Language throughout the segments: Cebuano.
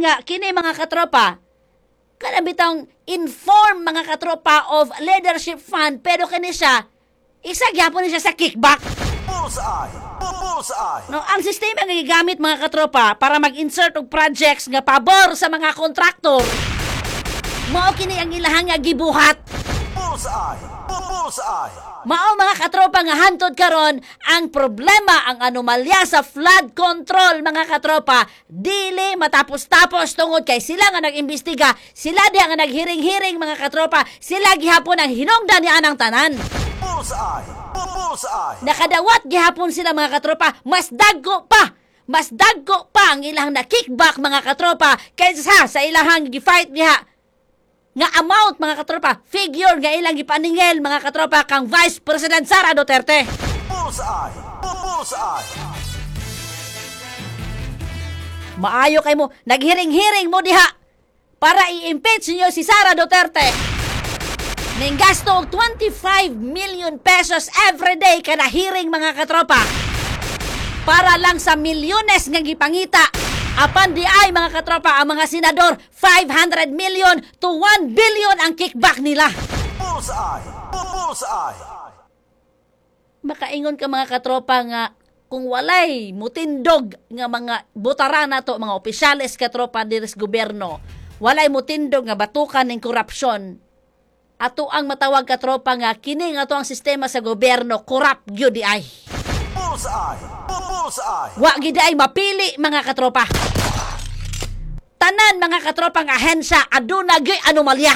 nga kini, mga katropa, kanang bitang inform, mga katropa, of leadership fund, pero kini siya isa gyapon ni siya sa kickback. Bullseye! Bullseye! No, ang sistema nga gigamit, mga katropa, para mag-insert og projects nga pabor sa mga kontraktor. Mao kini ang ilahang nga gibuhat. Bullseye! Bullseye! Mao, mga katropa, nga hantod karon ang problema, ang anomalya sa flood control, mga katropa, dili matapos-tapos tungod kay sila nga nag-imbestiga, sila diha nga naghiring-hiring, mga katropa, sila gihapon ang hinungdan ni anang tanan. Bullseye! Bullseye! Nakadawat gihapon sila, mga katropa, mas dagko pa. Mas dagko pa ang ilang na kickback, mga katropa, kaysa sa ilahang gi-fight diha nga amount, mga katropa, figure nga ilang gipaningil, mga katropa, kang Vice President Sara Duterte. Bullseye! Bullseye! Maayo kay mo, naghiring-hiring mo diha para i-impeach niyo si Sara Duterte. Ning gasto og ₱25 million every day kada hearing, mga katropa. Para lang sa milyones nga gipangita. Apan di ay, mga katropa, ang mga senador, 500 million to 1 billion ang kickback nila. Bullseye! Bullseye! Makaingon ka, mga katropa, nga kung walay mutindog nga mga butara nato, mga opisyales, katropa, diri sa gobyerno, walay mutindog nga batukan ng korupsyon, ato ang matawag, katropa, nga kini nga ato ang sistema sa gobyerno corrupt gyud di ay. Bullseye! Bullseye! Wa gid ay mapili, mga katropa. Tanan, mga katropa, nga ahensya aduna gyud anomalya.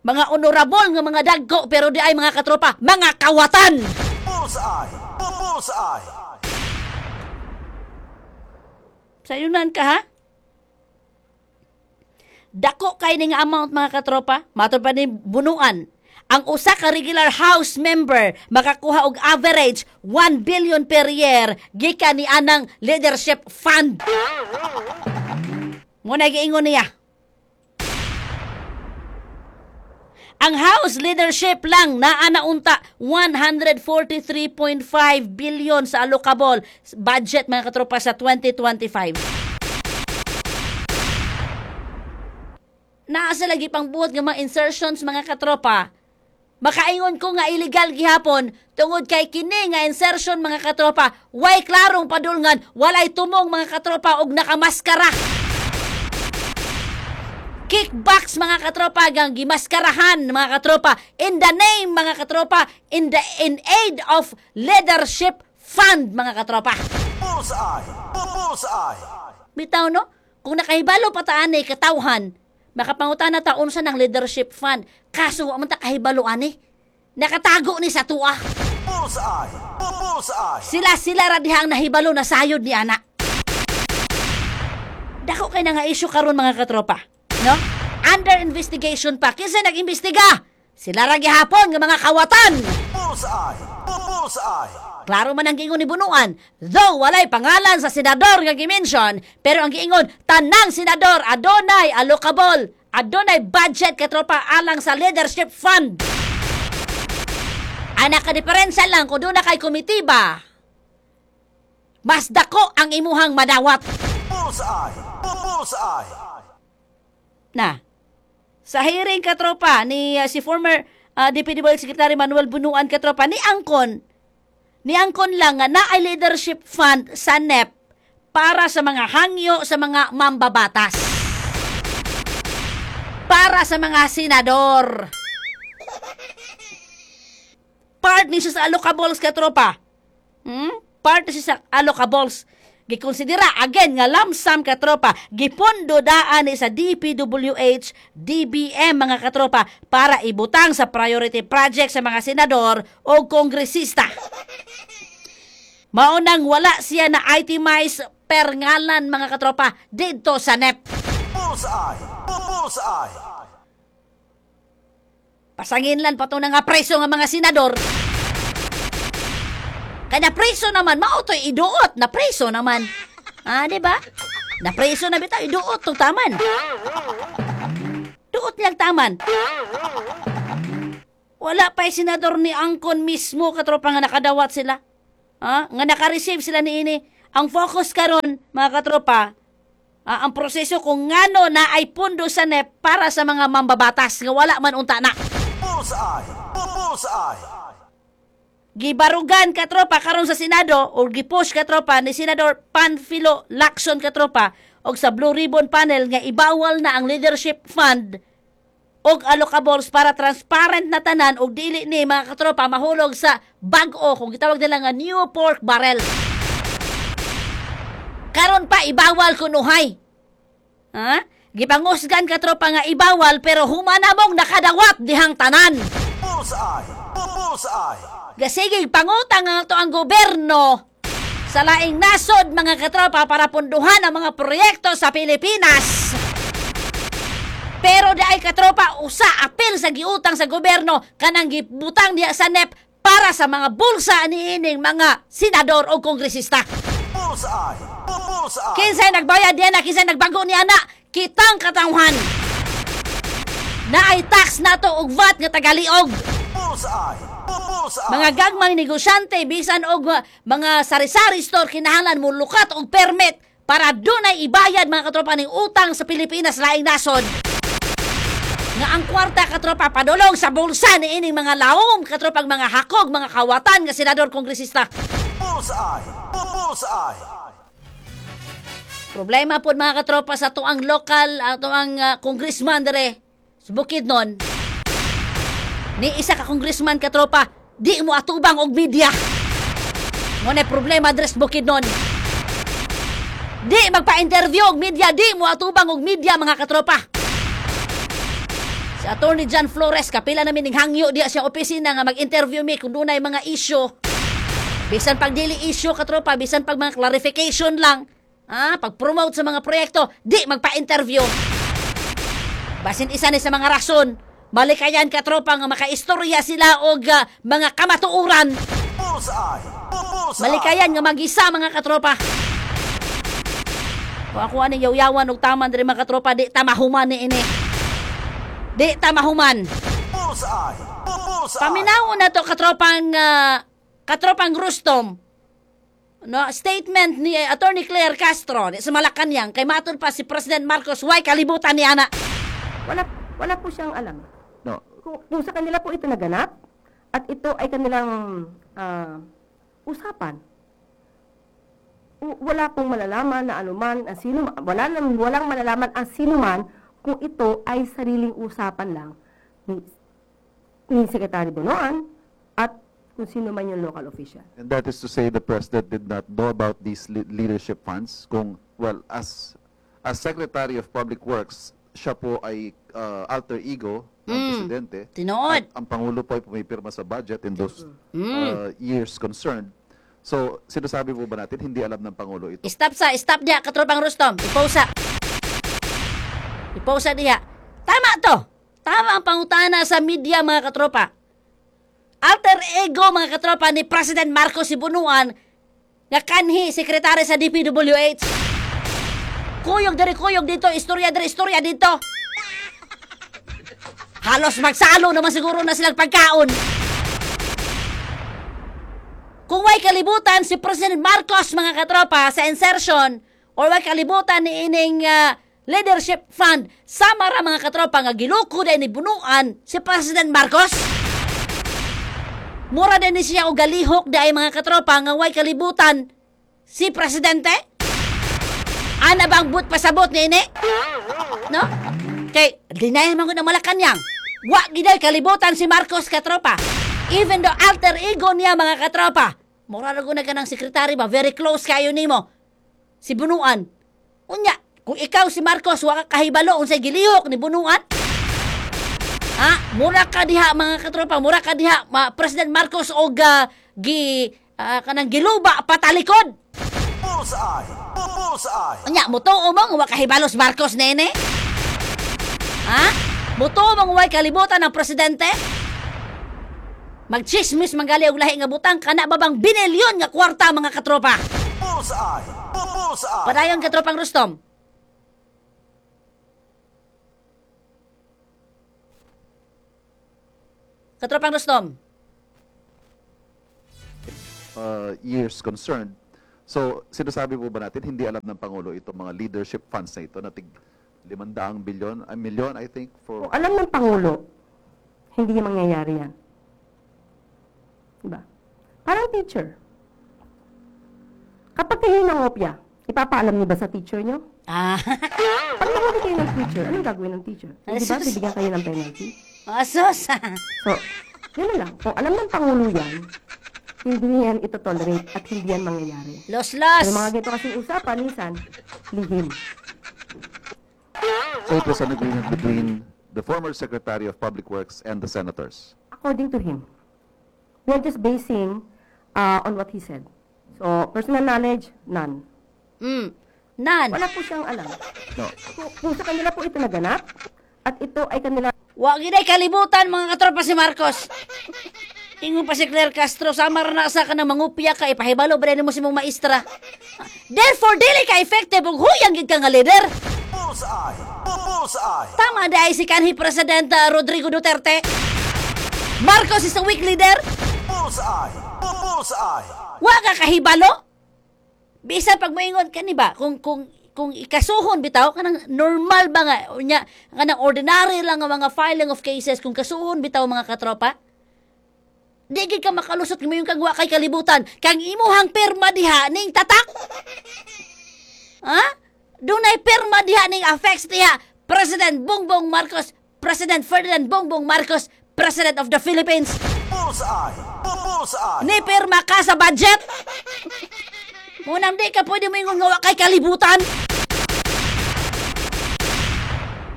Mga honorable nga mga dagko, pero di ay, mga katropa, mga kawatan. Bullseye! Bullseye! Sayunan ka ha? Dako kay ning amount, mga katropa, matod pa ni Bunuan. Ang usa ka regular house member makakuha og average 1 billion per year gikan ni anang leadership fund. Mo na giingon niya. Ang House leadership lang naa na unta 143.5 billion sa allocable budget, mga katropa, sa 2025. Naa sa lagi pang buhat nga mga insertions, mga katropa. Makaingon ko nga illegal gihapon tungod kay kini nga insertion, mga katropa, way klarong padulngan, walay tumong, mga katropa, og nakamaskara. Kickbacks, mga katropa, gang gimaskarahan, mga katropa, in the name, mga katropa, in aid of leadership fund, mga katropa. Bullseye! Bullseye! Bitaw no? Kung nakahibalo pa ta ani katawhan, makapangutana ta unsa ng leadership fund. Kaso wa man ta kahibalo ani. Nakatago ni sa tuwa. Bullseye! Bullseye! Sila-sila ra diha ang nahibalo na sayod ni ana. Dako kay na nga issue karon, mga katropa. No? Under investigation pa. Kinsa nag-imbestiga? Sila ra gihapon nga mga kawatan. Bullseye! Bullseye! Klaro man ang giingon ni Bunuan. Though walay pangalan sa senador nga gi-mention, pero ang giingon, tanang senador adunay allocable, adunay budget, katropa, alang sa leadership fund. Ana ka diferensya lang kung duna kay komitiba. Mas dako ang imuhang madawat. Bullseye! Bullseye! Na. Sa hearing, katropa, ni si former DPWH Secretary Manuel Bunuan, katropa, ni angkon lang nga naay leadership fund sa NEP para sa mga hangyo sa mga mambabatas. Para sa mga senador. Part ni siya sa allocables, katropa. Part ni siya sa allocables. Gikonsidera again nga lump sum, katropa, gipondo daan ni sa DPWH, DBM, mga katropa, para ibutang sa priority project sa mga senador o kongresista. Maunang wala siya na itemize per ngalan, mga katropa, didto sa NEP. Bullseye! Bullseye! Pasangin lang pa to nga preso nga mga senador. Kaya preso naman, mao to'y iduot, na preso naman. Ah, di ba? Na preso na bitaw, iduot tong taman. Duot niyang taman. Wala pa senador ni Angkon mismo, katropa, nga nakadawat sila. Ah, nga naka-receive sila ni ini. Ang focus karon, mga katropa, ang proseso kung ngano na ay pundo sa NEP para sa mga mambabatas nga wala man unta na. Bullseye! Bullseye! Gibarugan, katropa, karon sa Senado o gipush, katropa, ni Senador Panfilo Lacson, katropa, og sa Blue Ribbon Panel nga ibawal na ang leadership fund og allocables para transparent na tanan og dili ni, mga katropa, mahulog sa bag-o kung gitawag nila nga new pork barrel. Karon pa ibawal kunuhay. Ha? Gipangusgan, katropa, nga ibawal pero humanamong nakadawat dihang tanan. Bullseye! Bullseye! Gasige pangutang ang ato ang gobyerno sa laing nasod, mga katropa, para punduhan ang mga proyekto sa Pilipinas. Pero di ay, katropa, usa apil sa giutang sa gobyerno kanang gibutang diha sa NEP para sa mga bulsa niining mga senador o kongresista. Bullseye! Bullseye! Kinsay nagbayad diyan na, kinsay nagbago niya na, kitang katawhan. Naay tax nato og VAT nga tagaliog. Bullseye! Bullseye! Mga gagmang negosyante, bisan og mga sari-sari store, kinahanglan mo lukat og permit para dunay ibayad, mga katropa, ning utang sa Pilipinas laing nasod. Nga ang kwarta, katropa, padulong sa bulsa ni ining mga laom, katropang mga hakog, mga kawatan nga senador, kongresista. Bullseye! Bullseye! Problema po, mga katropa, sa tuang lokal, ato ang congressman dere sa Bukidnon. Ni isa ka congressman, katropa, di mo atubang og media. Mo na problema dere sa Bukidnon. Di magpa-interview og media, di mo atubang og media, mga katropa. Si Attorney John Flores, kapila namin ning hangyo diya siya opisina nga mag-interview mi kung dunay mga issue. Bisan pag dili issue, katropa, bisan pag mga clarification lang, pag-promote sa mga proyekto, di magpa-interview. Basin isa ni sa mga rason, malikayan, katropa, nga makaistorya sila og mga kamatuoran. Bullseye! Bullseye! Malikayan nga magisa, mga katropa. Kung ako aning yaw-yawan og taman diri, mga katropa, di ta mahuman ni ini. Di ta mahuman. Bullseye! Bullseye! Paminaw na to, katropang Rustom. No, statement ni Attorney Claire Castro ni sa Malacanang kay matud pa si President Marcos way kalibutan ni ana. Wala, wala po siyang alam. No. Kung sa kanila po ito naganap, at ito ay kanilang usapan, wala pong malalaman na anuman, ang sino, wala nang, walang malalaman ang sino man kung ito ay sariling usapan lang ni Secretary Bonoan at kung sino man yung local official. And that is to say the president did not know about these leadership funds. Kung, well, as Secretary of Public Works, siya po ay alter ego ng presidente. Tinuod. At ang Pangulo po ay pumipirma sa budget in those years concerned. So, sinasabi po ba natin, hindi alam ng Pangulo ito? Stop sa, stop diha, katropang Rustom. Ipausa. Ipausa diha. Tama to. Tama ang pangutana sa media, mga katropa. Alter ego, mga katropa, ni President Marcos si Bonoan nga kanhi sekretary sa DPWH. Kuyog diri, kuyog dito, istorya diri, istorya dito. Halos magsalo naman siguro na silang pagkaon. Kung way kalibutan si President Marcos, mga katropa, sa insertion or way kalibutan ni ining leadership fund, sama ra, mga katropa, nga giluko din ni Bonoan si President Marcos. Mura din ni siya og galihok di ay, mga katropa, nga way kalibutan si Presidente. Ana bang but pasabot ni ini? No? Kay deny man ko ng Malacanang. Wa giday kalibutan si Marcos, katropa. Even though alter ego niya, mga katropa. Mura ra gud na kanang sekretary ba, very close kayo nimo. Si Bonoan. Unya, kung ikaw si Marcos, wa ka kahibalo unsay gilihok ni Bonoan? Ha? Mura ka diha, mga katropa, mura ka diha ma, President Marcos og gi kanang giluba patalikod. Bullseye! Bullseye! Unya, mutuo mo nga wa kahibalo si Marcos nene? Ha? Mutuo mo nga way kalibutan ng presidente? Magchismis manggali og lahi nga butang kana ba bang binilyon nga kwarta, mga katropa? Bullseye! Bullseye! Padayon, katropang Rustom. Katropang Rustom. Years concerned. So, sinasabi po ba natin, hindi alam ng Pangulo itong mga leadership funds na ito na tig 500 billion, a million, I think, for Kung alam ng Pangulo, hindi mangyayari yan. Diba? Parang teacher. Kapag kayo nangopya, ipapaalam niyo ba sa teacher niyo? Ah. Pag nahuli kayo ng teacher, anong gagawin ng teacher? Hindi ba bibigyan kayo ng penalty? Asos. So, yun na lang. Kung alam ng Pangulo yan, hindi yan ito tolerate at hindi yan mangyayari. Los los. Pero mga ganito kasing usapan, minsan, lihim. So it was an agreement between the former Secretary of Public Works and the senators. According to him. We are just basing on what he said. So, personal knowledge, none. None. Wala po siyang alam. No. Kung sa kanila po ito naganap, at ito ay kanila Wa ginay kalibutan, mga katropa, si Marcos. Ingon pa si Claire Castro, samar na sa ka ng mangupya ka, ipahibalo ba mo si mong maestra. Therefore, dili ka effective ug huyang gid ka nga leader. Bullseye! Bullseye! Tama di si kanhi President Rodrigo Duterte. Marcos is a weak leader. Bullseye! Bullseye! Wa ka kahibalo. Bisan pag moingon kani ba kung ikasuhon bitaw kanang normal ba nga unya kanang ordinary lang nga mga filing of cases, kung kasuhon bitaw, mga katropa, di gid ka makalusot mo kag wa kay kalibutan kang imuhang pirma diha ning tatak, ha, dunay pirma diha ning affects diha President Bongbong Marcos, President Ferdinand Bongbong Marcos, President of the Philippines. Bullseye! Bullseye! Ni pirma ka sa budget. Munang di ka pwede mo ingon nga wa kay kalibutan.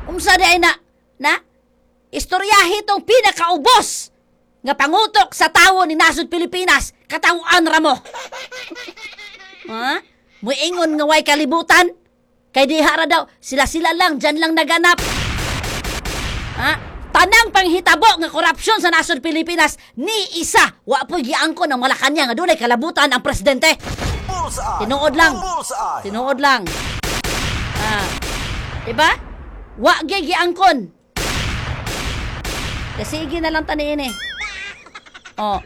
Unsa di ay na na istoryahi tong pinakaubos nga pangutok sa tawo ni nasod Pilipinas, katawhan ra mo. Ha? Muingon nga way kalibutan? Kay diha ra daw, sila-sila lang, dyan lang naganap. Ha? Tanang panghitabo nga korupsyon sa nasod Pilipinas, ni isa wa po giangkon ng Malacanang nga dunay kalabutan ang presidente. Bullseye! Tinuod lang. Bullseye! Tinuod lang. Ah. Diba? Wa gyud giangkon. Kasi sige na lang taniin eh. Oh.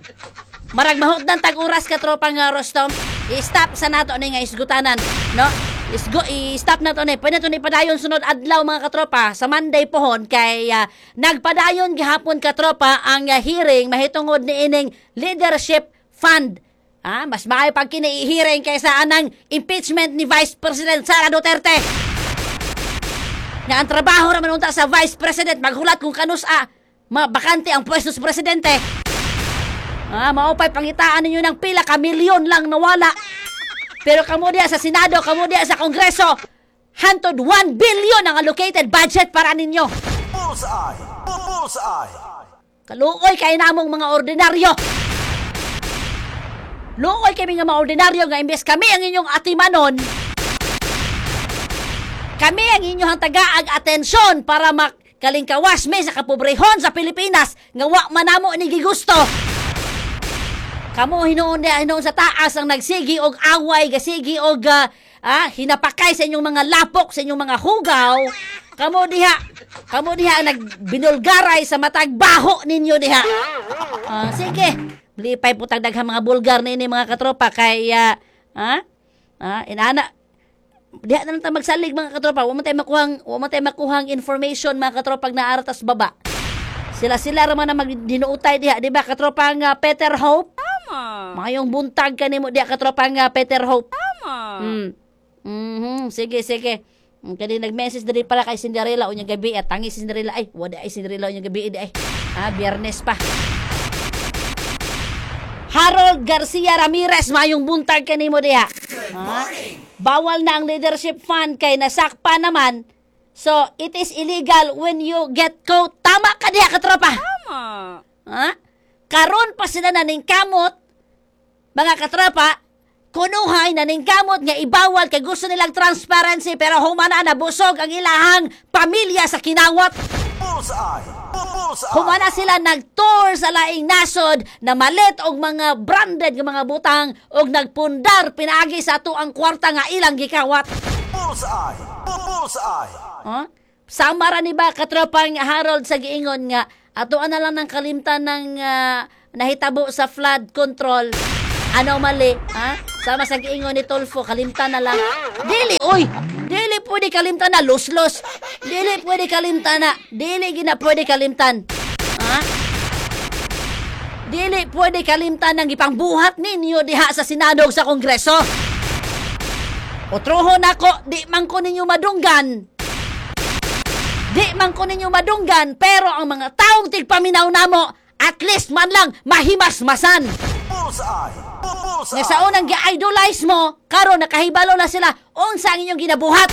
Marag mahutdan tag oras ka, tropa nga Rostom. I-stop sa nato ni nga isgutanan, no? Isgo i-stop na to ni. Pwede to ni padayon sunod adlaw, mga katropa, sa Monday pohon kay nagpadayon gihapon, katropa, ang hearing mahitungod ni ining leadership fund. Ah, mas maayo pag kini i-hearing kaysa anang impeachment ni Vice President Sara Duterte. Nga ang trabaho raman unta sa Vice President maghulat kung kanus-a mabakante ang pwesto sa presidente. Ah, mao pa'y pangitaan ninyo ng pila ka milyon lang nawala. Pero kamo diya sa Senado, kamo diya sa Kongreso, hantod 1 billion ang allocated budget para ninyo. Bullseye! Bullseye! Kaluoy kay namong mga ordinaryo. Luoy kami nga mga ordinaryo nga imbes kami ang inyong atimanon, kami ang inyong tagaag atensyon para makalingkawas mi sa kapobrehon sa Pilipinas nga wa man namo ni gigusto. Kamo hinuon niya hinuon sa taas ang nagsigi og away, gasigi og hinapakay sa inyong mga lapok, sa inyong mga hugaw. Kamo diha ang nagbinulgaray sa matag baho ninyo diha. Ah, sige. Lipay po tag daghang mga bulgar nini, mga katropa, kay inana diha na lang ta magsalig, mga katropa. Wa man tayo makuhang information, mga katropa, naara tas baba. Sila-sila ra man ang magdinuutay diha, di ba, katropa nga Peter Hope? Tama. Mayong buntag kanimo diha, katropa nga Peter Hope. Tama. Sige, sige. Kani nag-message diri pala kay Cinderella unyang gabi at tangi si Cinderella ay wala ay Cinderella unyang gabi di ay. Ah, Biyernes pa. Harold Garcia Ramirez, mayong buntag kanimo diha. Ha? Bawal na ang leadership fund kay nasakpa naman. So, it is illegal when you get caught. Tama ka diha, katropa. Tama. Ha? Karon pa sila naningkamot, mga katropa, kunuhay naningkamot nga ibawal kay gusto nilang transparency, pero humana na busog ang ilahang pamilya sa kinawat. Bullseye! Bullseye! Humana sila nag-tour sa laing nasod na malit og mga branded nga mga butang og nagpundar pinaagi sa ato ang kwarta nga ilang gikawat. Bullseye! Bullseye! Huh? Sama ra ni ba, katropang Harold, sa giingon nga ato na lang ng kalimtan ng nahitabo sa flood control. Anomaly, ha? Sama sa giingon ni Tulfo, kalimtan na lang. Dili, oy! Dili pwede kalimtan na, los-los. Dili pwede kalimtan na. Dili gina pwede kalimtan. Ha? Dili pwede kalimtan ang ipangbuhat ninyo diha sa Senado ug sa Kongreso. Otroho nako, di man ko ninyo madunggan. Di man ko ninyo madunggan, pero ang mga taong tigpaminaw namo, at least man lang mahimasmasan. Bullseye! Bullseye! Nga sa unang gi-idolize mo, karon nakahibalo na sila unsa ang inyong ginabuhat.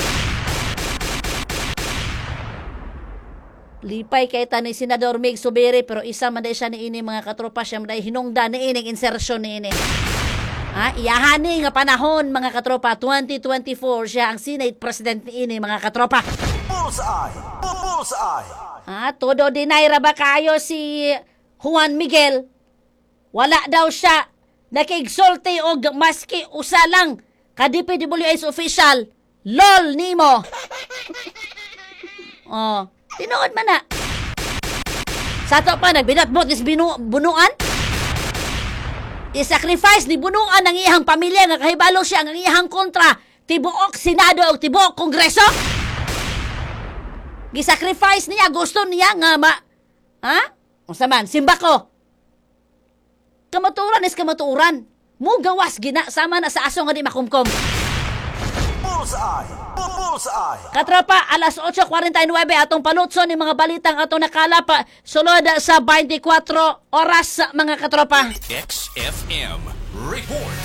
Lipay kay ta ni Senador Mig Subiri, pero isa man day siya niini, mga katropa, siya man day hinungdan niining insertion niini. Ha, iyahani nga panahon, mga katropa, 2024 siya ang Senate President niini, mga katropa. Bullseye! Bullseye! Ha, todo deny ra ba kayo si Juan Miguel? Wala daw siya nakigsulti og maski usa lang ka DPWH official. LOL nimo. Oh, tinuod man na. Sa ato pa nagbinatbot is bunuan. I-sacrifice ni bunuan ang iyang pamilya nga kahibalo siya ang iyang kontra tibuok Senado o tibuok Kongreso. Gisacrifice niya, gusto niya nga ma... Ha? Unsa man, simba ko. Kamatuoran is kamatuoran. Mugawas gina sama na sa aso nga di makumkom. Bullseye! Bullseye! Katropa, alas 8:49 atong palutso ni mga balitang atong nakalap sulod sa 24 oras, mga katropa. XFM Report.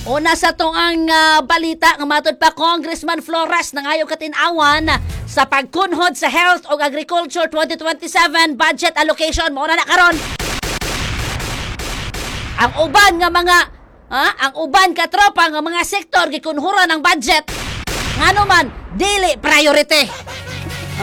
Una sa tong ang balita nga matod pa Congressman Flores nangayo katin-awan sa pagkunhod sa Health ug Agriculture 2027 budget allocation mao na na karon. Ang uban nga mga ha, ang uban katropa nga mga sektor gikunhuran ang budget. Ngano man dili priority.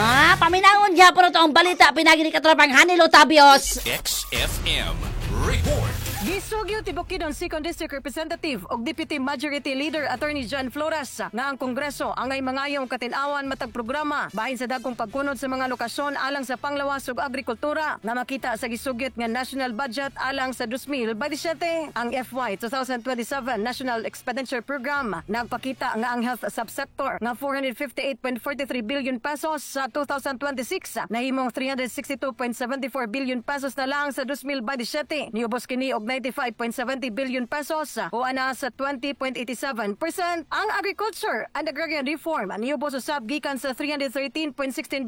Ah, paminangon gyapon to ang balita pinagi ni katropang Hanilo Tabios. XFM Report. Gisugyo ti Bukidnon Second District Representative og Deputy Majority Leader Attorney John Flores nga ang Kongreso angay mangayong katin-awan matag programa bahin sa dagkong pagkunod sa mga lokasyon alang sa panglawas ug agrikultura nga makita sa gisugyot nga national budget alang sa 2027. Ang FY 2027 National Expenditure Program nagpakita nga ang health subsector nga 458.43 billion pesos sa 2026 nahimong 362.74 billion pesos na lang sa 2027. Niubos kini og 95.70 billion pesos o ana sa 20.87%. Ang agriculture and agrarian reform niubos usab gikan sa 313.16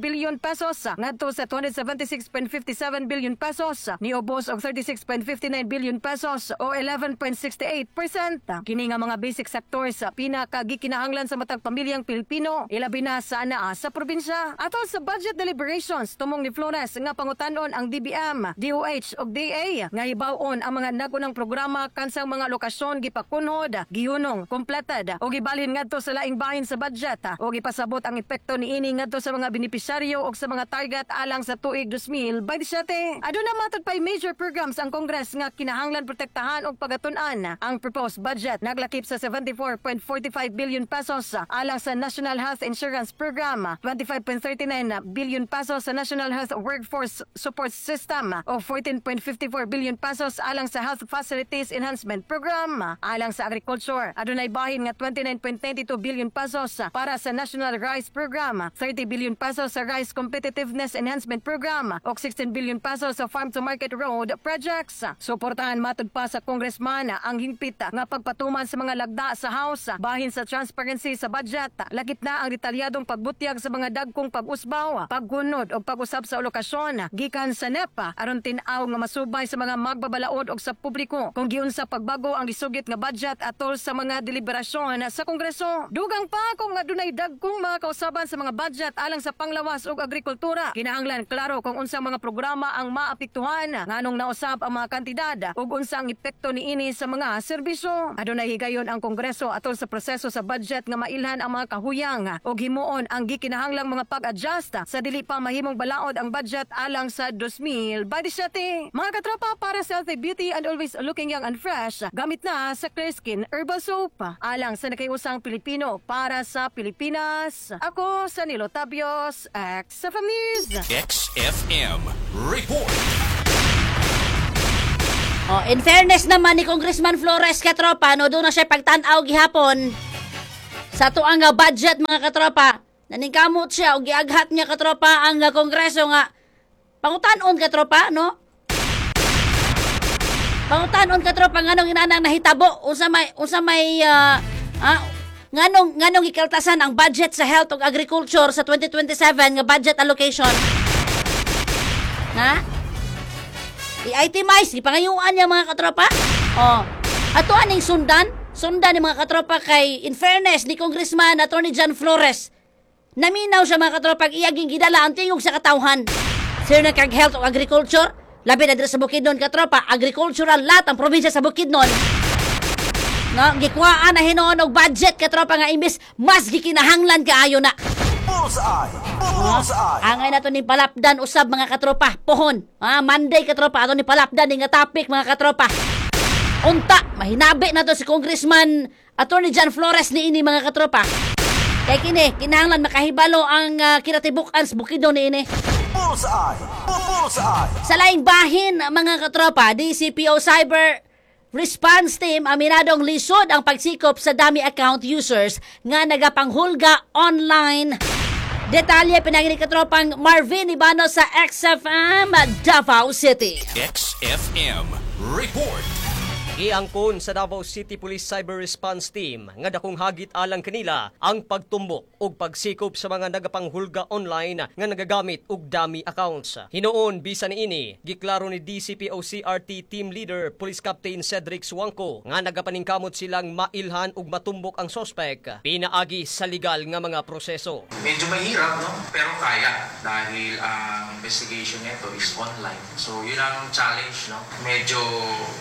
billion pesos ngadto sa 276.57 billion pesos. Niubos og 36.59 billion pesos o 11.68%. Kini nga mga basic sectors pinakagikinahanglan sa matag pamilyang Pilipino, ilabi na sa anaa sa probinsya. Atol sa budget deliberations, tumong ni Flores nga pangutanon ang DBM, DOH ug DA nga hibaw-on ang mga nagunang programa kansang mga lokasyon gipakunhod, gihunong, completed o gibalhin ngadto sa laing bahin sa budget o gipasabot ang epekto niini ngadto sa mga benepisyaryo o sa mga target alang sa tuig 2027. Aduna matod pay major programs ang Congress nga kinahanglan protektahan og pagatun-an. Ang proposed budget naglakip sa 74.45 billion pesos alang sa National Health Insurance Program, 25.39 billion pesos sa National Health Workforce Support System o 14.54 billion pesos alang sa Health Facilities Enhancement Program. Alang sa agriculture, adunay bahin nga 29.92 billion pesos para sa National Rice Program, 30 billion pesos sa Rice Competitiveness Enhancement Program o 16 billion pesos sa Farm to Market Road Projects. Suportahan matod pa sa congressman ang hingpit nga pagpatuman sa mga lagda sa House bahin sa transparency sa budget. Lakip na ang detalyadong pagbutyag sa mga dagkong pag-usbaw, paggunod o pag-usab sa alokasyon gikan sa NEP aron tin-aw nga masubay sa mga magbabalaod og sa publiko kung giunsa pagbago ang gisugit nga budget atol sa mga deliberasyon sa Kongreso. Dugang pa kung adunay dagkong mga kausaban sa mga budget alang sa panglawas ug agrikultura. Kinahanglan klaro kung unsang mga programa ang maapektuhan, nganong nausab ang mga kantidad ug unsa ang epekto niini sa mga serbisyo. Adunay higayon ang Kongreso atol sa proseso sa budget nga mailhan ang mga kahuyang ug himuon ang gikinahanglang mga pag-adjust sa dili pa mahimong balaod ang budget alang sa 2027. Mga katropa, para sa healthy beauty and always looking young and fresh, gamit na sa Clear Skin Herbal Soap. Alang sa nakausang Pilipino para sa Pilipinas. Ako sa Nilo Tabios, XFM News. XFM Report. Oh, in fairness naman ni Congressman Flores, katropa, no, duna siya pagtan-aw gihapon sa atuang nga budget, mga katropa. Naningkamot siya og giaghat niya, katropa, ang kongreso nga pangutan-on, katropa, no? Pangutan-on, katropa, nganong inanang nahitabo, unsa may nganong gikaltasan ang budget sa health ug agriculture sa 2027 nga budget allocation. Na? I-itemize, gipangayuan niya, mga katropa. Oh. Ato aning sundan, sundan ni mga katropa kay in fairness ni Congressman Attorney John Flores. Naminaw siya, mga katropa, iyaging gidala ang tingog sa katawhan. Sir na kag health o agriculture, labi na diri sa Bukidnon, katropa, agricultural lahat ang probinsya sa Bukidnon. No, gikuhaan na hinuon og budget, katropa, nga imbis mas gikinahanglan kaayo na. Bullseye! Bullseye! Angay na to ni palapdan usab, mga katropa. Pohon. Ah, Monday, katropa, ato ni palapdan ni nga topic, mga katropa. Unta, mahinabi na to si Congressman Attorney John Flores ni ini, mga katropa. Kay kini, kinahanglan makahibalo ang kinatibuk-an sa Bukidnon ni ini. Bullseye! Bullseye! Sa laing bahin, mga katropa, DCPO Cyber Response Team aminadong lisod ang pagsikop sa dummy account users nga nagapanghulga online. Detalye pinaagi ni katropang Marvin Ibano sa XFM Davao City. XFM Report. Giangkon sa Davao City Police Cyber Response Team nga dakong hagit alang kanila ang pagtumbok ug pagsikop sa mga nagapanghulga online nga nagagamit og dummy accounts. Hinuon bisan niini, giklaro ni DCPO CRT Team Leader Police Captain Cedric Suangco nga nagapaningkamot silang mailhan ug matumbok ang sospek pinaagi sa legal nga mga proseso. Medyo mahirap, no? Pero kaya dahil ang investigation nito is online. So, yun ang challenge, no? Medyo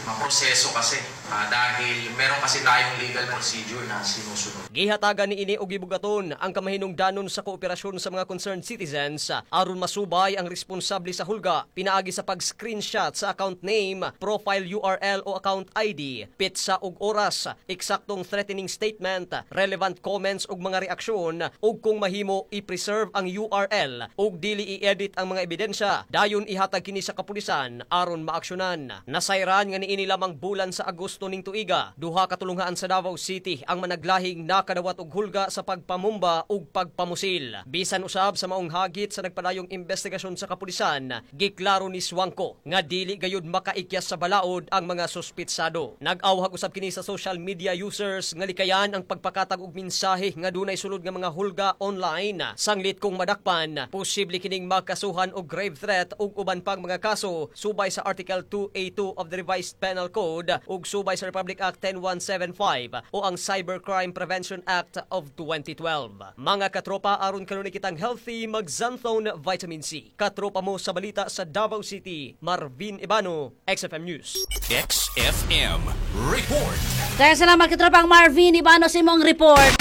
maproseso kasi dahil meron kasi tayong legal procedure na sinusunod. Gihatagan ni ini og gibugaton ang kamahinungdanon sa kooperasyon sa mga concerned citizens aron masubay ang responsable sa hulga pinaagi sa pag-screenshot sa account name, profile URL o account ID, petsa ug oras, eksaktong threatening statement, relevant comments ug mga reaksyon ug kung mahimo i-preserve ang URL ug dili i-edit ang mga ebidensya, dayon ihatag kini sa kapulisan aron maaksyonan. Nasayran nga niini lamang bulan sa Agosto ning tuiga, duha ka tulunghaan sa Davao City ang managlahing nakadawat og hulga sa pagpamumba ug pagpamusil. Bisan usab sa maong hagit sa nagpadayong investigasyon sa kapulisan, giklaro ni Suangco nga dili gayud makaikyas sa balaod ang mga suspitsado. Nag-awhag usab kini sa social media users nga likayan ang pagpakatag og mensahe nga dunay sulod nga mga hulga online. Sanglit kung madakpan, posible kining makasuhan og grave threat ug uban pang mga kaso subay sa Article 282 of the Revised Penal Code ug subay sa Republic Act 10175 o ang Cybercrime Prevention Act of 2012. Mga katropa, aron kanunay kitang healthy, mag-Xanthone Vitamin C. Katropa mo sa balita sa Davao City, Marvin Ibano, XFM News. XFM Report. Kaya salamat, katropang Marvin Ibano, sa imong report.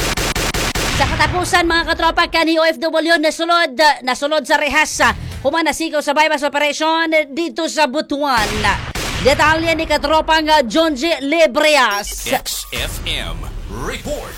Sa katapusan, mga katropa, kani OFW nasulod sa rehas human nasikaw sa buy-bust operation dito sa Butuan. Detalye ni katropang John G. Libreas. XFM Report.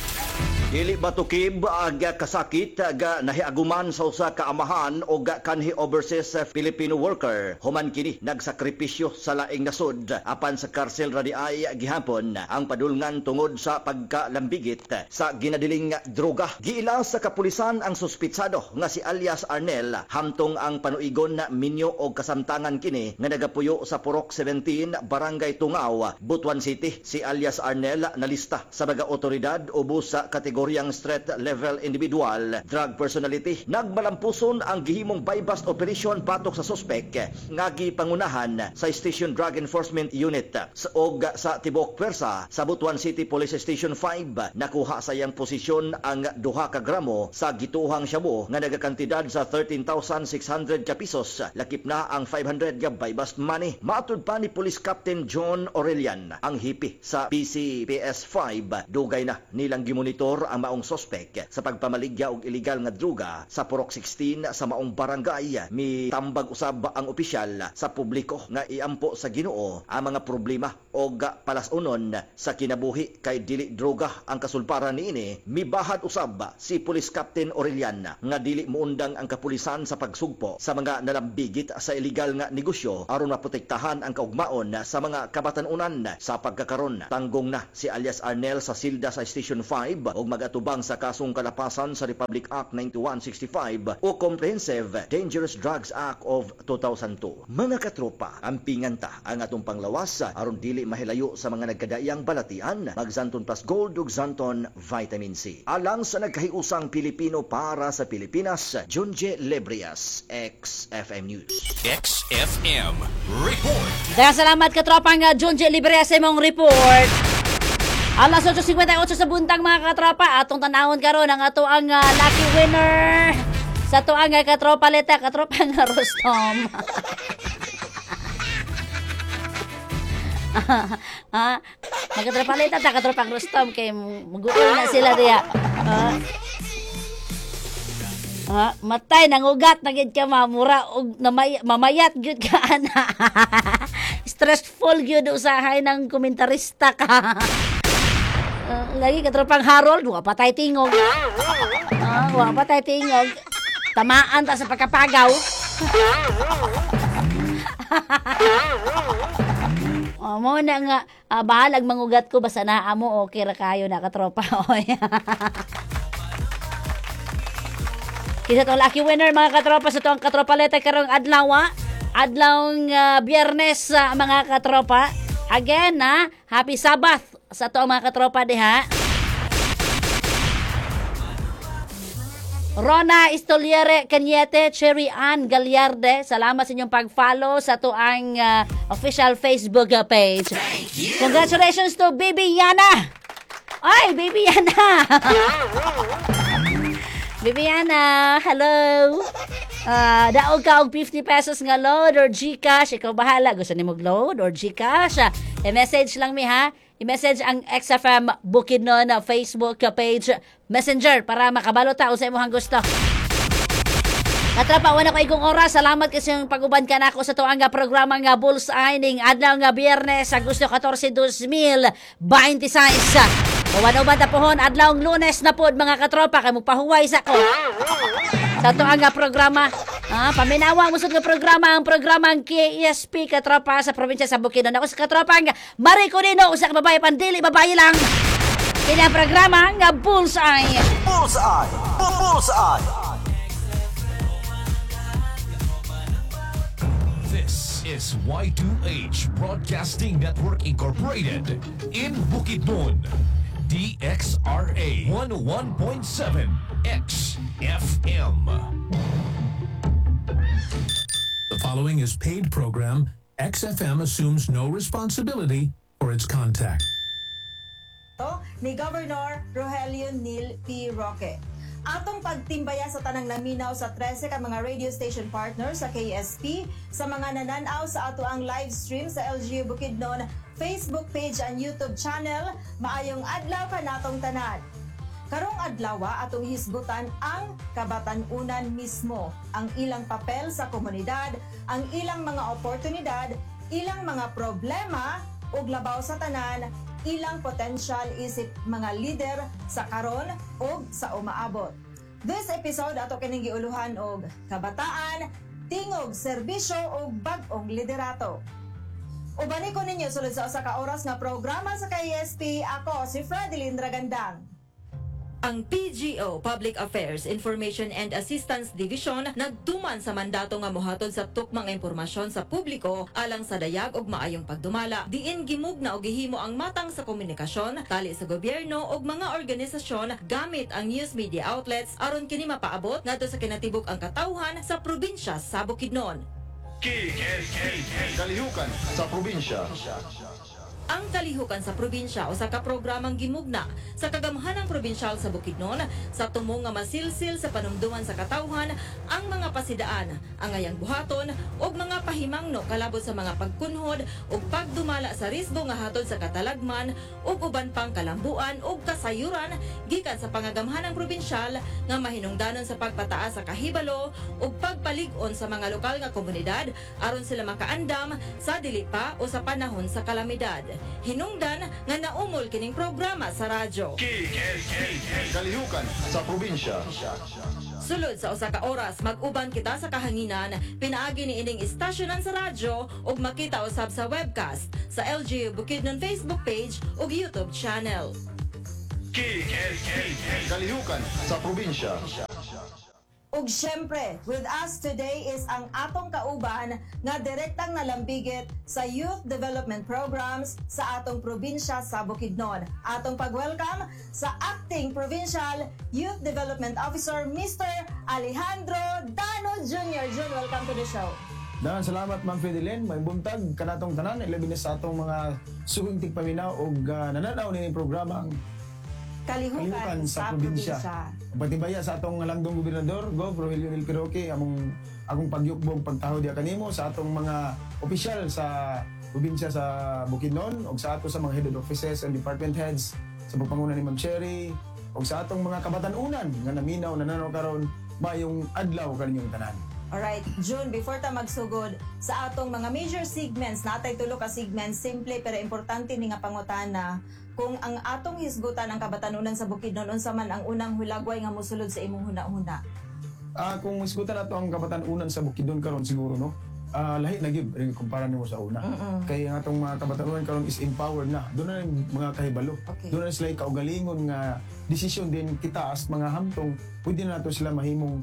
Dili matukib ang kasakit ga nahiaguman sa usa ka amahan o ga kanhi overseas Filipino worker human kini nagsakripisyo sa laing nasod, apan sa karsel ra diay gihapon ang padulngan tungod sa pagkalambigit sa ginadiling droga. Giila sa kapulisan ang suspitsado nga si alias Arnel hamtong ang panuigon na minyo og kasamtangan kini nga nagapuyo sa Purok 17, Barangay Tungaw, Butuan City. Si alias Arnel nalista sa mga otoridad ubos sa kategoryang street level individual drug personality. Nagmalampuson ang gihimong buy-bust operation batok sa suspek nga gipangunahan sa Station Drug Enforcement Unit sa og sa tibok pwersa sa Butuan City Police Station 5. Nakuha sa iyang posisyon ang 2 ka gramo sa gituhang shabu nga nagakantidad sa 13,600 ka pesos, lakip na ang 500 ka buy-bust money. Matud pa ni Police Captain John Aurelian, ang hepe sa PCPS 5, dugay na nilang gimonitor. Gipabor ang maong suspect sa pagpamaligya og illegal nga druga sa Purok 16 sa maong barangay. Mitambag usab ang opisyal sa publiko nga iampo sa Ginoo ang mga problema og palasunon sa kinabuhi kay dili droga ang kasulparan niini. Mibahad usab si Police Captain Aurelian nga dili muundang ang kapulisan sa pagsugpo sa mga nalambigit sa illegal nga negosyo aron maprotektahan ang kaugmaon sa mga kabatan-unan. Sa pagkakaron, tanggong na si alias Arnel sa silda sa Station 5 og magatubang sa kasong kalapasan sa Republic Act 9165 o Comprehensive Dangerous Drugs Act of 2002. Mga katropa, ampingan ta ang atong panglawas aron dili mahilayo sa mga nagkadaiyang balatian. Mag Xanthone Plus Gold ug Xanthone Vitamin C. Alang sa nagkahiusang Pilipino para sa Pilipinas, Junje Lebrias, XFM News. XFM Report. Daghang salamat katropang Junji Libre sa imong report. Alas 8:58 sa buntag, mga katropa, atong tanawon karon ang ato ang lucky winner sa ato ang katropa leta, katropa nga Rostom. Ha? Magkatropa leta ta, katropang Rostom, kay maguol na sila diya. Ha? Ha? Matay nangugat na gid ka, mamura og mamayat gyud ka ana. Stressful gyud usahay ng komentarista ka. Lagi katropang Harold, wa pa tay tingog. Ah, wa pa tay tingog. Tamaan ta sa pagkapagaw. Oh, mo na nga bahalag mangugat ko basta naa mo, okay ra kayo na, katropa. Oy. Kisa tong lucky winner, mga katropa, sa tuang katropa leta karong adlaw, adlawng Biyernes, mga katropa. Again, ha, happy Sabbath sa tuang mga katropa diha. Rona Istoliere Cañete, Cherry Ann Gallarde, salamat sa inyong pag-follow sa tuang official Facebook page. Congratulations to Baby Yana! Ay, Baby Yana! Baby Yana, hello! Daog ka og 50 pesos nga load or GCash. Ikaw bahala. Gusto nimo load or GCash? I-message lang mi ha. I-message ang XFM Bukidnon na Facebook page Messenger para makabalo ta sa imong gusto. Katropa, wala ko igong oras. Salamat kasi yung pag-uban ka nako sa tuang nga programa nga Bullseye ning adlaw nga Biyernes, Agosto 14, 2026. Uban-uban ta pohon adlaw Lunes na pod, mga katropa, kay mupahuway sa ko sa tuang nga programa. Paminawa mo nga programa, ang programa ang KSP, katropa, sa probinsya sa Bukidnon. Ako sa katropa nga Mariko Nino, usa ka babae pandili babae lang. Kini ang programa nga Bullseye. Bullseye. Bullseye. This is Y2H Broadcasting Network Incorporated in Bukidnon. DXRA 101.7 XFM. The following is paid program. XFM assumes no responsibility for its contact. Ni Governor Rogelio Neil P. Roque. Atong pagtimbaya sa tanang naminaw sa 13 ka mga radio station partners sa KSP, sa mga nananaw sa ato ang live stream sa LGU Bukidnon Facebook page and YouTube channel, maayong adlaw kanatong tanan. Karong adlaw atong hisgutan ang kabatan-unan mismo, ang ilang papel sa komunidad, ang ilang mga oportunidad, ilang mga problema ug labaw sa tanan, ilang potensyal isip mga lider sa karon ug sa umaabot. This episode ato kining giuluhan og kabataan, tingog serbisyo ug bag-ong liderato. Ubani ko ninyo sulod sa usa ka oras nga programa sa KSP. Ako si Fredeline Ragandang. Ang PGO Public Affairs Information and Assistance Division nagtuman sa mandato nga mohatod sa tukmang impormasyon sa publiko alang sa dayag ug maayong pagdumala. Diin gimugna og gihimo ang matang sa komunikasyon tali sa gobyerno ug mga organisasyon gamit ang news media outlets aron kini mapaabot ngadto sa kinatibuk ang katawhan sa probinsya sa Bukidnon. Kalihukan sa probinsya. Ang Kalihukan sa Probinsya usa ka programang gimugna sa kagamhanang probinsyal sa Bukidnon sa tumong nga masilsil sa panumduman sa katawhan ang mga pasidaan, angayang buhaton ug mga pahimangno kalabot sa mga pagkunhod ug pagdumala sa risgo nga hatod sa katalagman ug uban pang kalambuan ug kasayuran gikan sa pangagamhanang probinsyal nga mahinungdanon sa pagpataas sa kahibalo ug pagpalig-on sa mga lokal nga komunidad aron sila makaandam sa dili pa o sa panahon sa kalamidad. Hinungdan nga naumol kining programa sa radyo. Kalihukan sa probinsya. Sulod sa usa ka oras, mag-uban kita sa kahanginan, pinaagi ni ining istasyonan sa radyo ug makita usab sa webcast sa LGU Bukidnon Facebook page ug YouTube channel. Kalihukan sa probinsya. Ug syempre, with us today is ang atong kauban nga direktang nalambigit sa Youth Development Programs sa atong probinsya sa Bukidnon. Atong pag-welcome sa Acting Provincial Youth Development Officer, Mr. Alejandro Dano Jr. Jun, welcome to the show. Daghang salamat, Ma'am Fedelin. May buntag kanatong tanan, ilabi na sa atong mga suking tigpaminaw og nananaw nining programa ang Kalihukan, Kalihukan sa Probinsya. Patibaya sa atong landong gobernador, Gov. Rogelio Neil P. Roque, among akong pagyukbong pagtaho diya kanimo sa atong mga opisyal sa probinsya sa Bukidnon ug sa ato sa mga head offices and department heads sa pagpanguna ni Ma'am Cherry ug sa atong mga kabatan-unan nga naminaw nananaw karon, mayong adlaw kaninyong tanan. Alright, June, before ta magsugod sa atong mga major segments, natay tulo ka segments, simple pero importante ni nga pangutana, kung ang atong hisgutan ang kabatanunan sa Bukidnon, unsa man ang unang hulagway nga mosulod sa imong huna-huna? Kung isgutan nato ang kabatan-unan sa Bukidnon karon siguro, no. Lahi na gyud rin kumpara nimo sa una. Kay ang atong mga kabatan-unan karon is empowered na. Doon na yung mga kahibalo. Doon na sila kaugalingon nga desisyon din. Kita as mga hamtong, pwede na nato sila mahimong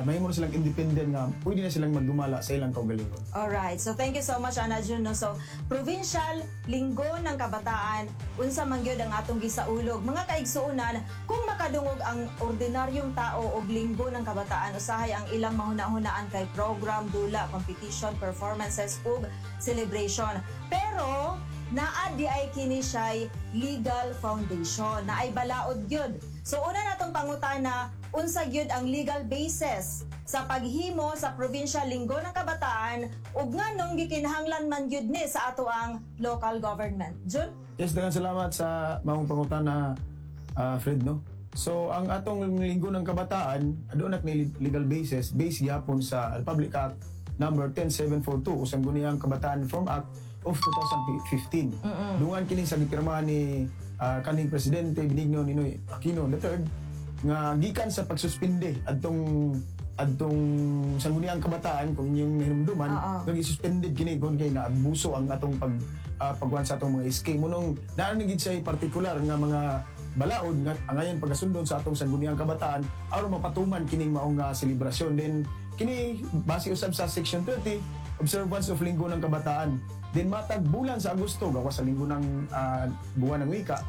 mahimo na silang independent nga pwede na silang magdumala sa ilang kaugalingon. Alright, so thank you so much, Ana Jun. No? So, Provincial Linggo ng Kabataan, unsa man gyud ang atong gisaulog? Mga kaigsuonan, kung makadungog ang ordinaryong tao og Linggo ng Kabataan, usahay ang ilang mahuna-hunaan kay program, dula, competition, performances ug celebration. Pero naa di ay kini siya'y legal foundation, na ay balaod gyud. So una natong pangutana, unsa gyud ang legal basis sa paghimo sa Provincial Linggo ng Kabataan ug nganong gikinahanglan man gyud ni sa ato ang local government? Jun? Yes, daghang salamat sa maong pangutana, Fred, no. So ang atong Linggo ng Kabataan, aduna ni legal basis, based gyapon sa Republic Act number 10742 o Sangguniang Kabataan Reform Act of 2015. Dungan kini sa gipirmahan ni kaning Presidente Benigno Ninoy Aquino III nga gikan sa pagsuspende adtong adtong Sangguniang Kabataan, kung inyong nahinumduman, nga gisuspended kini kung kay naabuso ang atong pagwan sa atong mga SK mo nung naa na gid siya partikular nga mga balaod nga angayan pagkasundon sa atong Sangguniang Kabataan aron mapatuman kining maong nga selebrasyon. Then kini base usab sa section 30, observance of Linggo ng Kabataan. Then matag bulan sa Agosto, gawas sa linggo ng buwan ng wika,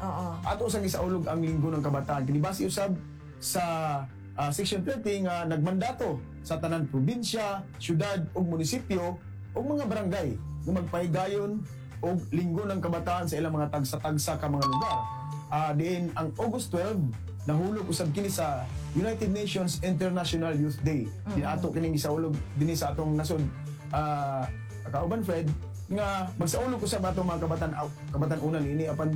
ato sang isaulog ang Linggo ng Kabataan. Kini base usab sa section 30 nga nagmandato sa tanan probinsya, syudad ug munisipyo ug mga barangay nga magpahigayon og Linggo ng Kabataan sa ilang mga tagsa-tagsa ka mga lugar. Diin ang August 12 nahulog usab kini sa United Nations International Youth Day. Di ato kining gisaulog dinhi sa atong nasod, kauban Fred, nga magsaulog usab atong mga kabatan-unan ini, apan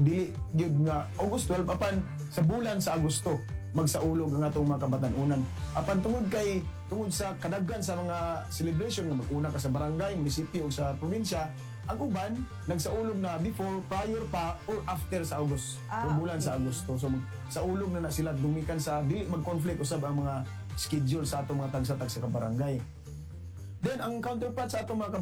dili gyud nga August 12, apan sa bulan sa Agosto magsaulog ang atong mga kabatan-unan. Apan tungod sa kadaghan sa mga celebration nga mag-una ka sa barangay, munisipyo o sa probinsya, ang uban nagsaulog na before, prior pa or after sa August. O bulan sa Agosto. So saulog na na sila dumikan sa dili mag-conflict usab ang mga schedule sa atong mga tagsa-tagsa ka barangay. Then ang counterpart sa atong mga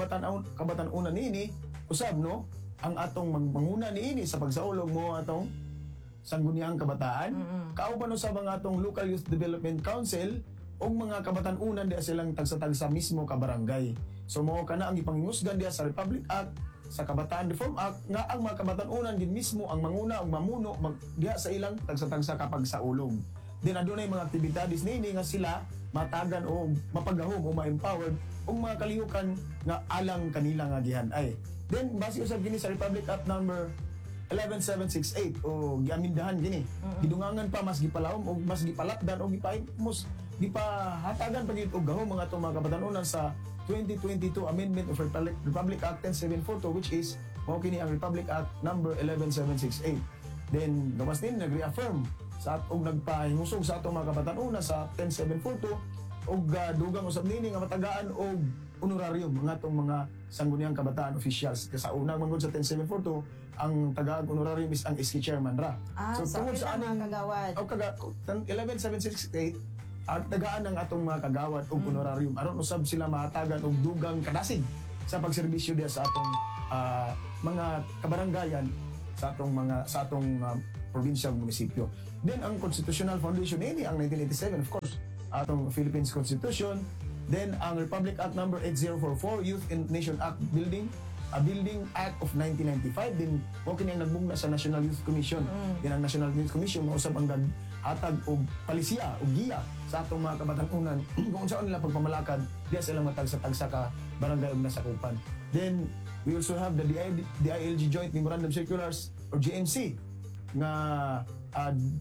kabatan-unan niini usab, no, ang atong manguna niini sa pagsaulog mo atong Sangguniang Kabataan. Kauban usab ang atong Local Youth Development Council ug mga kabatan-unan diha silang tagsa-tagsa mismo ka barangay. So mao kana ang gipangingusgan diha sa Republic Act sa Kabataan Reform Act nga ang mga kabatan-unan din mismo ang manguna ug mamuno diha sa ilang tagsa-tagsa kapag saulog. Then adunay mga aktibidades niini nga sila matagan o mapagahom o ma-empowered og mga kalihukan nga alang kanila nga gihan-ay. Then base usab kini sa Republic Act number 11768 o giamindahan kini. Gidungangan pa, mas gipalawom o mas gipalapdan o gipahimos, gipahatagan pa gyud og gahom mga atong mga kabatanunan sa 2022 Amendment of Republic Act 10742, which is mao kini ang Republic Act number 11768. Then gawas din nag-reaffirm sa og nagpahingusog sa atong mga kabatanunan sa 10742 og dugang usab nini nga matagaan og honorarium mga atong mga Sangguniang Kabataan officials. Kasi sa unang manggod sa 10742, ang tagaag honorarium is ang SK chairman ra. Ah, so, tungod sa aning mga kagawad. O kaga 11768 ang tagaan ng atong mga kagawad og honorarium aron usab sila mahatagan og dugang kadasig sa pagserbisyo diha sa atong mga kabaranggayan, sa atong probinsya ug munisipyo. Then ang constitutional foundation ini ang 1987, of course, atong Philippines Constitution, then ang Republic Act number 8044, Youth and Nation Act Building a Building Act of 1995 din, mao kini ang nagbugna sa National Youth Commission. Din ang National Youth Commission mao usab ang naghatag og palisiya og giya sa atong mga kabatanunan kung unsaon nila pagpamalakad diya sa ilang matag sa tagsa ka barangay ug nasakupan. Then we also have the DILG Joint Memorandum Circulars or JMC nga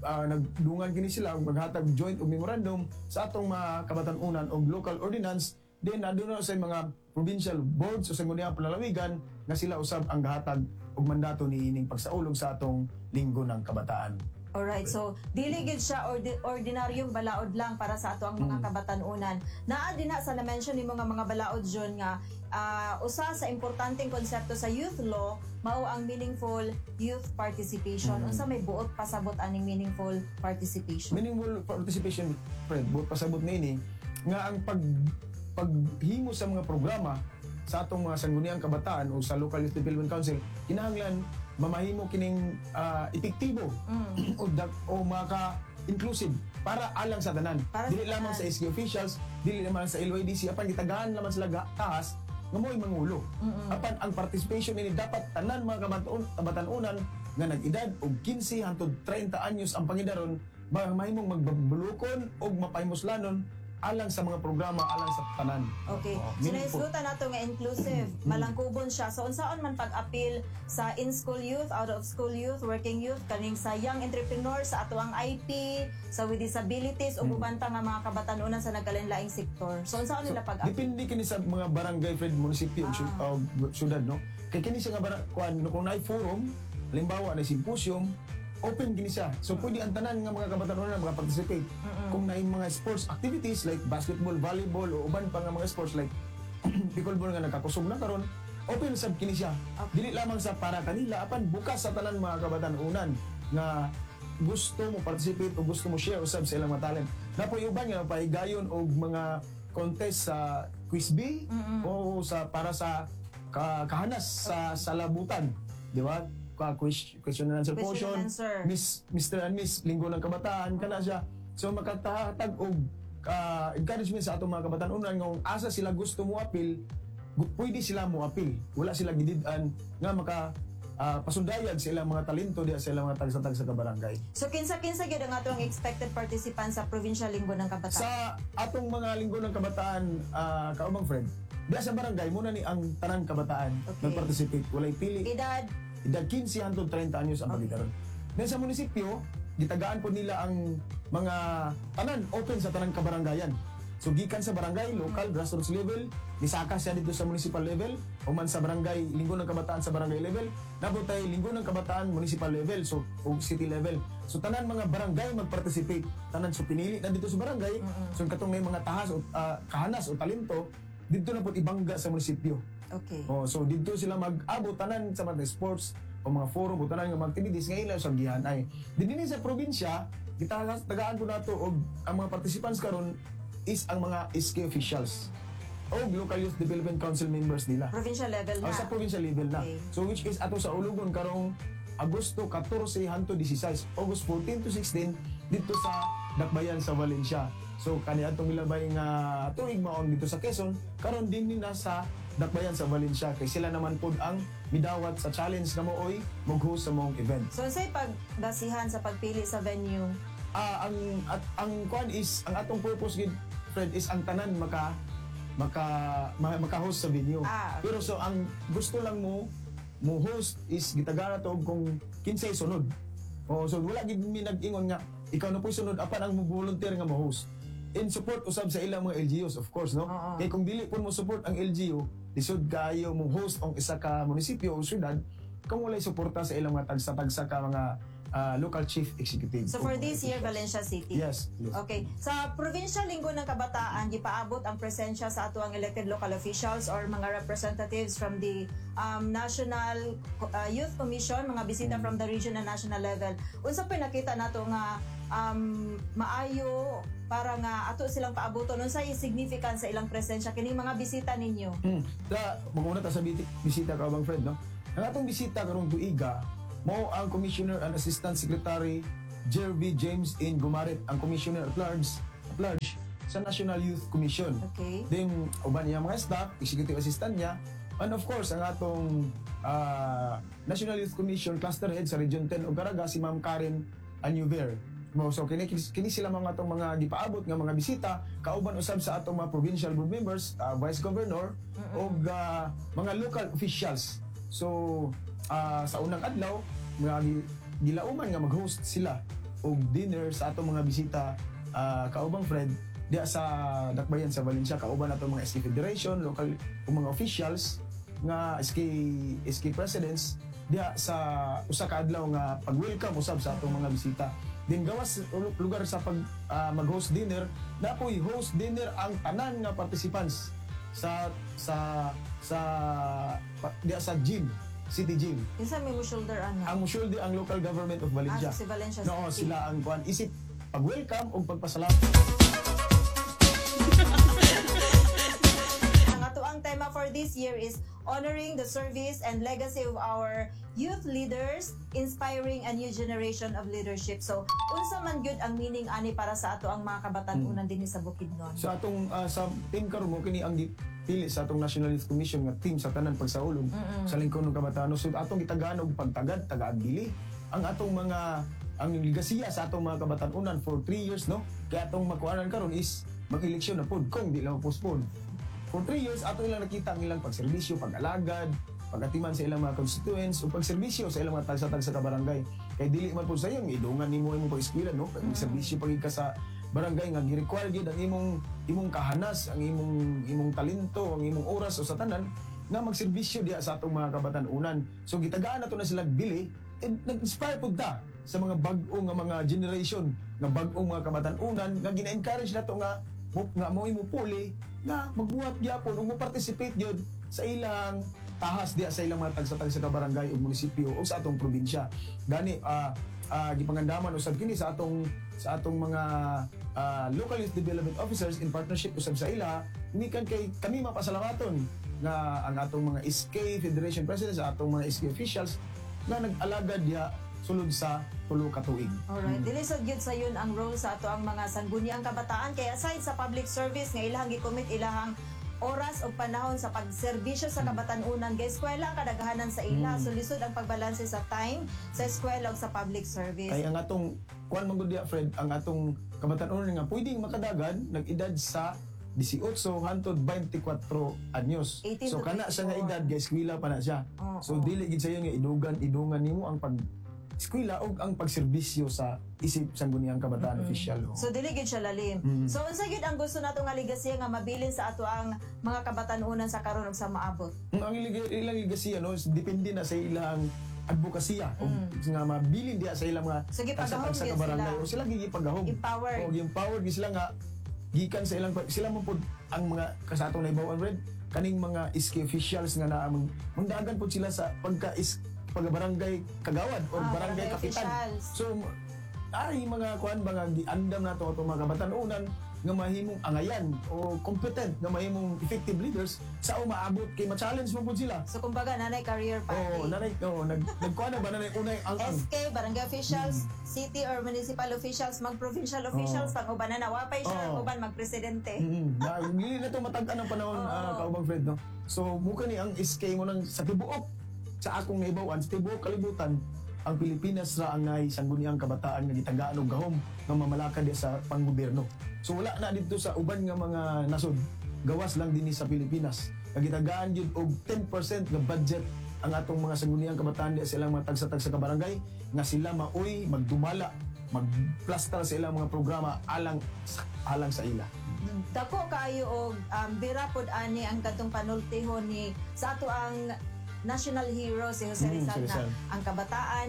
nagdungan kini sila og maghatag joint og memorandum sa atong mga kabatanunan og local ordinance. Then aduna sa mga provincial boards o sa Sangguniang Panlalawigan nga sila usab ang gahatag og mandato niining pagsaulog sa atong Linggo ng Kabataan. Alright, so dili gid siya ordinaryong balaod lang para sa ato ang mga kabatanunan. Naa din na sa na-mention nimo nga mga balaod, John, nga usa sa importanteng konsepto sa youth law mao ang meaningful youth participation. Unsa may buot pasabot aning meaningful participation? Meaningful participation, Fred, buot pasabot niini nga ang paghimo sa mga programa sa atong mga Sangguniang Kabataan o sa Local Youth Development Council, kinahanglan mamahimo kining epektibo o maka inclusive para alang sa tanan. Para sa Dili lamang tanan. sa SK officials, dili lamang sa LYDC, apan gitagaan naman sila tahas nga mo'y mangulo. Apan ang participation ini dapat tanan mga kabatanunan nga nag-edad og 15 hangtod 30 anyos ang pangidaron mahimong magbulukon og mapahimuslanon alang sa mga programa alang sa tanan. Okay. Oo, So meaningful. nahisgutan nato nga inclusive, malangkubon siya. So unsaon man pag-appeal sa in-school youth, out of school youth, working youth, kaning sa young entrepreneur, sa atoang IP, sa with disabilities ug uban pa nga mga kabatanunan sa nagkalain-laing sektor. So unsaon nila pag-appeal? Depende kini sa mga barangay, Fred, munisipyo o syudad, no? Kay kini siya nga kuan, no, kung naay forum, halimbawa na symposium, open kini siya. So pwede ang tanan nga mga kabatanunan na makaparticipate. Kung naay mga sports activities like basketball, volleyball o uban pa nga mga sports like pickleball nga nagkakusog na karon, open sab kini siya. Dili lamang sa para kanila apan bukas sa tanan mga kabatanunan nga gusto mo participate o gusto mo share usab sa ilang mga talent. Napoy uban nga pahigayon og mga contest sa quiz bee o sa para sa kahanas sa salabutan, di ba? Ka question and answer Question portion, and answer. Miss Mr. and Miss Linggo ng Kabataan kana siya. So makatahatag og encouragement sa atong mga kabatanunan nga kung asa sila gusto mo apil, pwede sila mo apil. Wala sila gidid-an nga maka pasundayag sa ilang mga talento diha sa ilang mga tagsa-tagsa ka barangay. So kinsa-kinsa gyud ang atong expected participants sa Provincial Linggo ng Kabataan? Sa atong mga Linggo ng Kabataan, kaubang Fred, diha sa barangay muna ni ang tanang kabataan nagparticipate. Walay pili. Edad? Edad 15 hangtod 30 anyos ang pagidaron. Then sa munisipyo, gitagaan po nila ang mga tanan, open sa tanang kabaranggayan. So gikan sa barangay, local, grassroots level, nisaka siya dito sa municipal level, o man sa barangay, Linggo ng Kabataan sa barangay level, nabot tay Linggo ng Kabataan municipal level, so o city level. So tanan mga barangay magparticipate. Tanan, so pinili na dito sa barangay, so katong may mga tahas o kahanas o talento, dito na po ibangga sa munisipyo. Oh, so dito sila mag-abot tanan sa mga sports o mga forum o tanan nga mga activities nga ila sa gihanay. Dinhi sa probinsya, tagaan po nato og ang mga participants karon is ang mga SK officials o local youth development council members nila. Provincial level na. Oh, sa provincial level na. So which is ato sa Ulugon karong Agosto 14 hangtod 16, August 14 to 16 dito sa Dakbayan sa Valencia. So kani atong milabay nga tuig maong dito sa Quezon, karon din ni nasa Dakbayan sa Valencia kay sila naman pod ang midawat sa challenge nga mooy mag-host sa maong event. So unsay pagbasihan sa pagpili sa venue? Ah, ang kuan is ang atong purpose gid, Fred, is ang tanan maka maka maka-host sa venue. Pero so ang gusto lang mo mo host is gitagaan nato og kung kinsay sunod. Oh, so wala gid mi nag-ingon nga ikaw na po'y sunod, apan ang mo volunteer nga mo host. In support usab sa ilang mga LGUs, of course, no? Kay kung dili pud mo support ang LGU, lisod kayo mo host ang isa ka munisipyo o syudad kung walay suporta sa ilang mga tagsa-tagsa ka mga local chief executive. So for this year, Valencia City. Yes. Okay. Sa Provincial Linggo ng Kabataan, gipaabot ang presensya sa atuang elected local officials or mga representatives from the National Youth Commission, mga bisita from the region and national level. Unsa pa nakita nato nga maayo para nga ato silang paabuton, unsa significance sa ilang presensya kining mga bisita ninyo? Ta, mag-una ta sa bisita ka bang, Fred, no? Ang atong bisita karong tuiga, mao ang Commissioner and Assistant Secretary Jervy James N. Gumarit, ang Commissioner at large sa National Youth Commission. Then uban niya mga staff, executive assistant niya, and of course ang atong National Youth Commission cluster head sa Region 10 ug Caraga, si Ma'am Karen Anuver. Mo, so kini kini sila mga atong mga gipaabot nga mga bisita, kauban usab sa atong mga provincial board members, vice governor ug mga local officials. So sa unang adlaw mga gilauman nga mag-host sila og dinner sa atong mga bisita, kaubang Fred, diya sa Dakbayan sa Valencia, kauban atong mga SK Federation, local ug mga officials nga SK SK presidents diya sa usa ka adlaw nga pag-welcome usab sa atong mga bisita. Din gawas lugar sa pag mag-host dinner, napoy host dinner ang tanan nga participants sa diya sa gym, City Gym. Kinsa may mo shoulder ana? Ang shoulder ang local government of Valencia. Ah, si Valencia No, City. sila ang kuan isip pag-welcome ug pagpasalamat. Ang atoang tema for this year is honoring the service and legacy of our youth leaders, inspiring a new generation of leadership. So, unsa man gyud ang meaning ani para sa ato ang mga kabatan-unan dinhi sa Bukidnon? Sa atong sa team karon mo kini ang gipili sa atong National Youth Commission nga team sa tanan pagsaulog sa Lingkod ng Kabataan. So atong gitagaan og pagtagad, tagaag dili ang atong mga ang ligasiya sa atong mga kabatan-unan for 3 years, no? Kaya atong makuanan karon is mag-eleksyon na pud kung di lang postpone. For 3 years ato ilang nakita ang ilang pagserbisyo, pag-alagad, pagatiman sa ilang mga constituents o pagserbisyo sa ilang mga tagsa-tagsa ka barangay. Kay dili man pud sa iyong idungan nimo imong pag-eskwela, no? Pag serbisyo pagid ka sa barangay nga gi-require gyud ang imong imong kahanas, ang imong imong talento, ang imong oras o sa tanan nga magserbisyo diha sa atong mga kabatan-unan. So gitagaan nato na sila bili and nag-inspire pud ta sa mga bag-o nga mga generation, nga bag-ong mga kabatan-unan nga gina-encourage nato nga mo nga mo imo puli nga magbuhat gyapon ug mo participate gyud sa ilang tahas diha sa ilang mga tagsa-tagsa ka barangay ug munisipyo o sa atong probinsya. Gani gipangandaman usab kini sa atong mga local youth development officers in partnership usab sa ila mikan kay kami mapasalamaton nga ang atong mga SK Federation Presidents, sa atong mga SK officials nga nag-alagad diha sulod sa 3 ka tuig. Alright, dili sad gyud sayon ang role sa ato ang mga sangguniang kabataan kay aside sa public service nga ilahang gi-commit ilahang oras o panahon sa pagserbisyo sa kabatan-unan, kay eskwela ang kadaghanan sa ila, so lisod ang pagbalanse sa time sa eskwela ug sa public service. Kay ang atong kuan man gud diha, Fred, ang atong kabatan-unan nga pwedeng makadagan nag-edad sa 18 hantod 24 anyos. 18 So to kana siya nga 24. edad guys, eskwela pa na siya. So dili gid sayo nga idugan idungan nimo ang pag eskwela ug ang pagserbisyo sa isip sangguniang kabataan official. Oo. So dili gyud siya lalim. So unsa gyud ang gusto nato nga legacy nga mabilin sa ato ang mga kabatan-unan sa karon ug sa maabot? Ang ilang legasiya, no, depende na sa ilang advokasya o nga mabilin diha sa ilang mga So, gipagahom tagsa-tagsa gyud ka barangay. sila. O sila gipagahom. Empowered. O empowered gyud sila nga gikan sa ilang sila mo pud ang mga kasatong naibaw red kaning mga SK officials nga naa mangdagan pud sila sa pagka is pagka barangay kagawad or barangay barangay kapitan. officials. So ay mga kuan ba nga giandam nato atong mga kabatan-unan nga mahimong angayan o competent nga mahimong effective leaders sa umaabot kay ma-challenge mo pud sila. So kumbaga nanay career path. Oo, nanay, oo, nagkuan na ba nanay unay ang SK, barangay officials, city or municipal officials, mag-provincial officials, pag uban na nawapay siya, ang uban mag-presidente. Na, hindi na to matag-an ang panahon, kaubang Fred, no? So, muka ni ang SK mo nang sa tibuok, sa akong naibawan, sa tibuok kalibutan, ang Pilipinas ra ang nay sangguniang kabataan nga gitagaan og gahom nga mamalakad diya sa panggobyerno. So wala na dito sa uban nga mga nasod, gawas lang dinhi sa Pilipinas. Nga gitagaan gyud og 10% nga budget. ang atong mga sangguniang kabataan di sa ilang mga tagsa-tagsa ka barangay nga sila maoy magdumala, magplastar sa ilang mga programa alang sa ila. Dako kaayo og bira pod ani ang kadtong panultihon ni sa ato ang national hero si Jose Rizal Si na Rizal. ang kabataan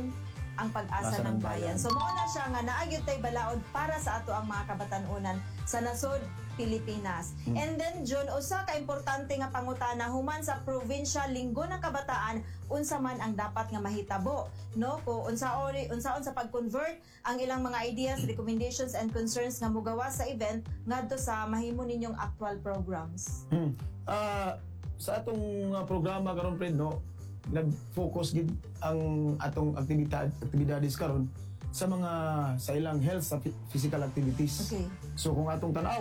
ang pag-asa Asa ng ng bayan. bayan. So mao na siya nga naa gyud tay balaod para sa ato ang mga kabatan-unan sa nasod Pilipinas. And then June, usa ka importante nga pangutana human sa provincial Linggo ng Kabataan, unsa man ang dapat nga mahitabo, no? Ko unsaon unsaon sa pag-convert ang ilang mga ideas, recommendations and concerns nga mugawa sa event ngadto sa mahimo ninyong actual programs. Ah, sa atong programa karon, Fred, no, nag-focus gid ang atong aktibidades karon sa mga sa ilang health, sa physical activities. So kung atong tan-awon